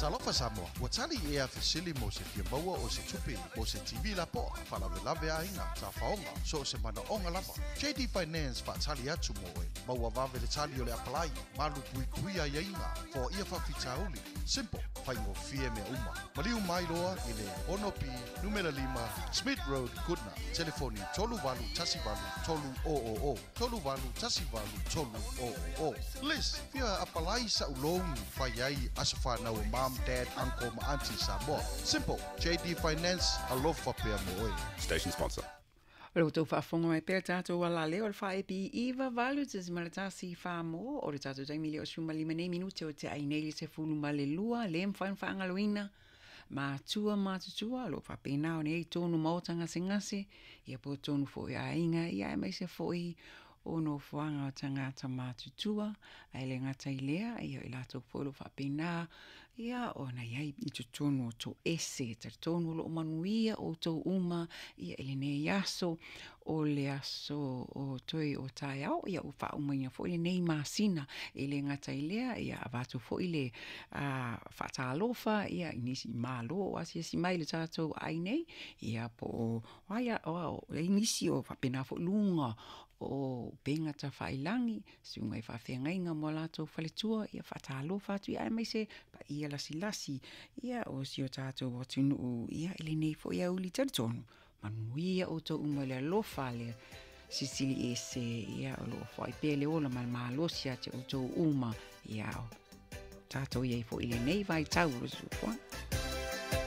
Talofa Samoa, ua tali ea fesili mo se fia maua o se tupe mo se TV lapoa, faalavelave aiga, tafaoga, so o se manaoga lava. JD Finance faatali atu mo oe. Maua vave le tali o le apalai, malu puipuia aiaiga, foaia faafitauli. Simple, faigofie mea uma. Maliu mai loa i le 6B numera 5 Smith Road, Goodna. Telefoni 3818 300. 3818 300. Liz, fia apalai sa'u loan fai ai aso fanau o mom, dad, uncle ma auntie Samoa. Simple, JD Finance, alofa pea mo oe. Station sponsor. O le tou faafofoga mai pea tatou alaleo o le 4EB 98.1 Samoa o le tatou taimi lea o 15 nei minute o te ai nei le 12 le mafai ona faagaloina matua matutua o lo o faapena ona i ai tonu maota gasegase ia po o tonu foi aiga ia aemaise foi o nofoaga o tagata matutua ae le gata i lea ia i latou foi o lo o faapena ia ona i ai i totonu o toese. E talitonu o lo o manuia outou uma ia i lenei aso o le aso o toe o taeao ia ua faaumaina foi lenei masina. E le gata i lea ia avatu foi le faatalofa ia i nisi malo o asiasi mai i le tatou ai nei ia po o ai o ai nisi o faapena foi luga o upega tafailagi, susuga i faafeagaiga ma o latou faletua, ia faatalofa atu ia aemaise paia lasilasi ia o si o tatou atunuu ia i lenei foi aoauli. Talitonu manuia outou uma i le alofa a le Silisili Ese ia o lo o foai pea le ola ma le malosi ia te outou uma ia o tatou i ai foi i lenei vaitau o le soifuaga.